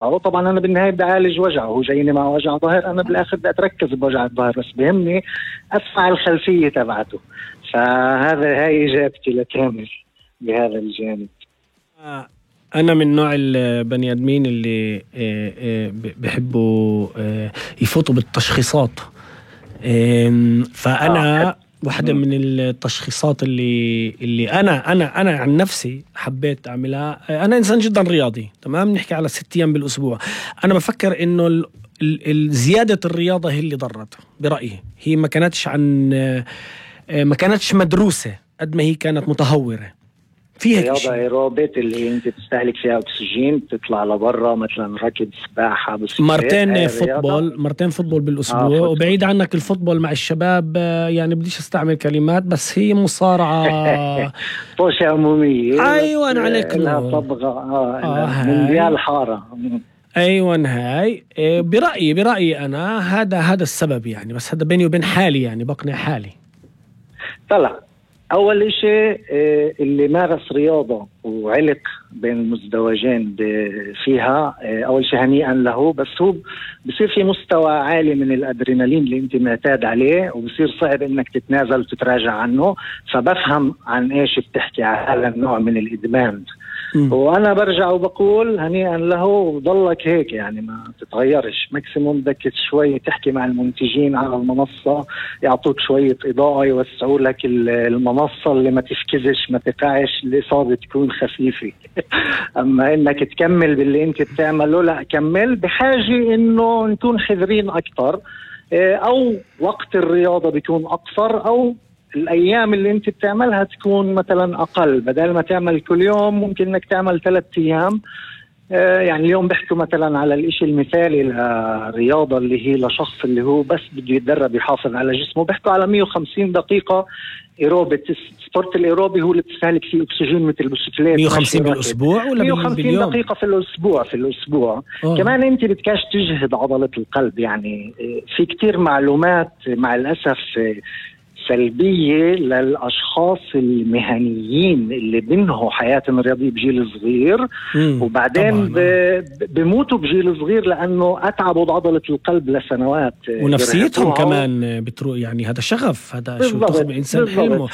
أو طبعا أنا بالنهاية بدي أعالج وجعه، هو جايني مع وجع ظهر، أنا بالآخر بدي أتركز بوجع الظهر، بس بهمني أسمع الخلفية تبعته. هاي إجابتي لكامل بهذا الجانب. أنا من نوع البني آدمين اللي بحبوا يفوتوا بالتشخيصات. فأنا واحدة من التشخيصات اللي أنا عن نفسي حبيت أعملها. أنا إنسان جدا رياضي، تمام، نحكي على 6 أيام بالأسبوع. أنا بفكر إنه زيادة الرياضة هي اللي ضرت برأيي. هي ما كانتش مدروسة قد ما هي كانت متهورة. فيها رياضة ايروبيت اللي انت تستهلك فيها اكسجين، تطلع لبرا مثلا ركض، سباحة، مرتين فوتبول بالاسبوع. وبعيد عنك الفوتبول مع الشباب، يعني بديش استعمل كلمات، بس هي مصارعة طوشة عمومية. ايوان عليك لها طبقة مونديال حارة. ايوان هاي برأيي انا هذا السبب يعني. بس هذا بيني وبين حالي، يعني بقنع حالي. طلع أول إشي اللي مارس رياضة وعلق بين المزدوجين فيها، أول شيء هنيئا له، بس هو بصير في مستوى عالي من الأدرينالين اللي أنت معتاد عليه، وبصير صعب إنك تتنازل وتتراجع عنه. فبفهم عن إيش بتحكي على النوع من الإدمان. وأنا برجع وبقول هنيئا له، وضلك هيك يعني ما تتغيرش. ماكسيموم بدك شوي تحكي مع المنتجين على المنصة، يعطوك شوية إضاءة، يوسعوا لك المنصة اللي ما تفكزش، ما تقعش، الإصابة تكون خفيفة. أما إنك تكمل باللي أنت بتعمله، لا كمل. بحاجة إنه نكون حذرين أكتر، أو وقت الرياضة بيكون أقصر، أو الأيام اللي أنت بتعملها تكون مثلا أقل. بدل ما تعمل كل يوم ممكن إنك تعمل 3 أيام. يعني اليوم بحكوا مثلا على الإشي المثالي للرياضة اللي هي لشخص اللي هو بس بده يتدرب يحافظ على جسمه، بحكوا على 150 دقيقة إيروبي. سبورت الإيروبي هو اللي بتستهلك فيه أكسجين مثل البسكليت. 150 بالأسبوع ولا 150 دقيقة في الأسبوع. كمان أنت بدكاش تجهد عضلة القلب. يعني في كتير معلومات مع الأسف سلبية للأشخاص المهنيين اللي بينهوا حياتهم الرياضية بجيل صغير، وبعدين بيموتوا بجيل صغير لأنه أتعبوا عضلة القلب لسنوات، ونفسيتهم كمان بتروح. يعني هذا شغف، هذا شو تاخذ بإنسان حلمه.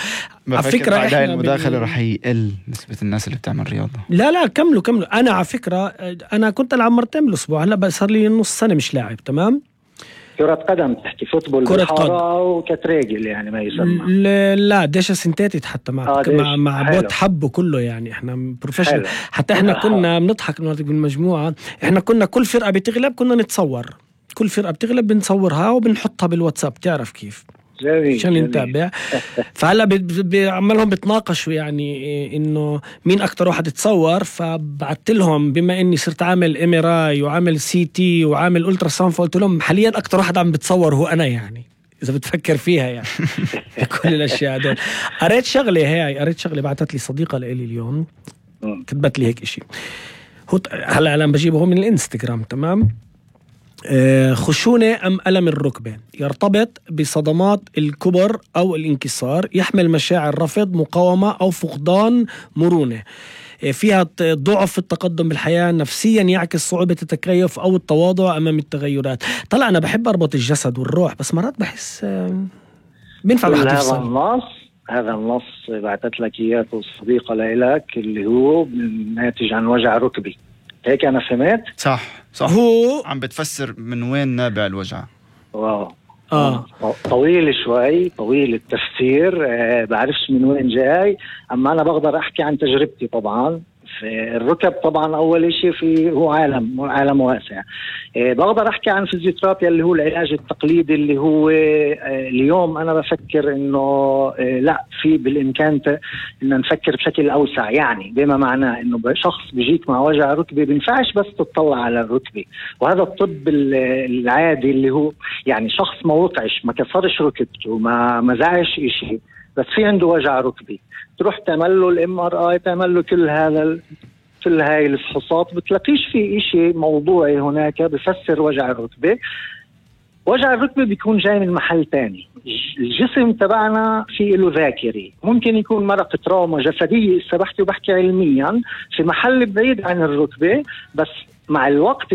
على فكرة هاي المداخلة رح يقل نسبة الناس اللي بتعمل رياضة. لا كملوا. أنا على فكرة أنا كنت ألعب 2 مرات بالأسبوع، هلا صار لي نص سنة مش لاعب. تمام، كرة قدم تحكي، فوتبول بالحارة وكتريجل يعني ما يسمى. لا ديشة سنتاتيت حتى مع بوت حبه كله. يعني احنا بروفيشنال. حتى احنا كنا بنضحك بالمجموعة. احنا كنا كل فرقة بتغلب كنا نتصور، كل فرقة بتغلب بنصورها وبنحطها بالواتساب. تعرف كيف؟ عشان نتابع. فهلا بعملهم بتناقشوا يعني انه مين اكتر واحد يتصور. فبعت لهم بما اني صرت عامل MRI وعامل CT وعامل ألترا ساوند، فقلت لهم حاليا اكتر واحد عم بتصور هو انا. يعني اذا بتفكر فيها يعني كل الاشياء هذول. قريت شغله بعتت لي صديقه لي اليوم، كتبت لي هيك اشي. هلا انا بجيبه من الانستغرام. تمام، خشونة أم ألم الركبة يرتبط بصدمات الكبر أو الانكسار، يحمل مشاعر رفض، مقاومة أو فقدان مرونة، فيها ضعف في التقدم بالحياة، نفسيا يعكس صعوبة التكيف أو التواضع أمام التغيرات. طلع أنا بحب أربط الجسد والروح، بس مرات بحس بينفع الواحد يفصل. هذا النص بعتت لك إياه الصديقة لك اللي هو ناتج عن وجع ركبي، هيك أنا فهمت؟ صح هو عم بتفسر من وين نابع الوجع. واو. طويل شوي، طويل التفسير، بعرفش من وين جاي. أما أنا بقدر أحكي عن تجربتي. طبعا في الركب طبعا أول شيء هو عالم واسع. بقدر أحكي عن فيزيوثيرابيا اللي هو العلاج التقليدي، اللي هو اليوم أنا بفكر إنه لا، في بالإمكان إن نفكر بشكل أوسع. يعني بما معناه إنه شخص بيجيك مع وجع ركبي بينفعش بس تطلع على الركبة. وهذا الطب العادي اللي هو يعني شخص ما وقعش، ما كسرش ركبته، ما زعش إشي، بس في عنده وجع ركبي، تروح تعمل له الMRI، تعمل له كل هاي الفحوصات، بتلاقيش في إشي موضوعي هناك بفسر وجع الركبة. وجع الركبة بيكون جاي من محل تاني. الجسم تبعنا فيه له ذاكري، ممكن يكون مرق تراuma جسدية، بحكي علميا في محل بعيد عن الركبة، بس مع الوقت